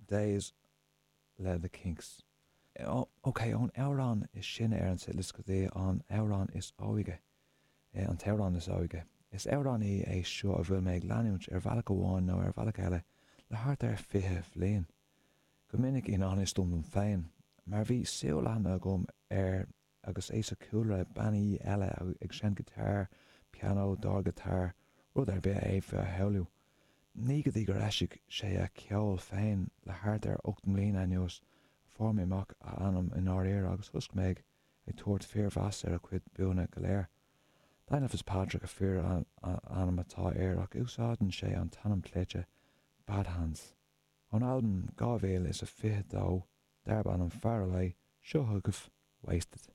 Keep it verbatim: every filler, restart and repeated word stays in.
Days le The Kinks. Ok, ón amhrán is sine ar an setlist go dtí an amhrán is óige, an t-amhrán is óige. Is amhránaí é seo a bhfuil mé ag leanúint ar bhealach amháin nó ar bhealach eile le thart ar fiche bhliain. Go minic i ngan fhios dom féin, mar bhí súil leathan agam air agus é sa chúlra bannaí eile ag seinm giotár, pianó, dordghiotár, rud ar bith a fhéadfaí a shamhlú. Ní go dtí gur eisigh sé a cheol féin le thart ar ocht mbliana anuas a fuair mé amach a ainm i ndáiríre agus thosaigh mé ag tabhairt fíormheas ar a chuid buanna go léir. Daniel Fitzpatrick a fhíor-ainm atá air ach úsáideann sé an t-ainm cleite Badhands. Ón albam dhá mhíle is a fiche dó darb ainm Far Away, seo chugaibh Wasted.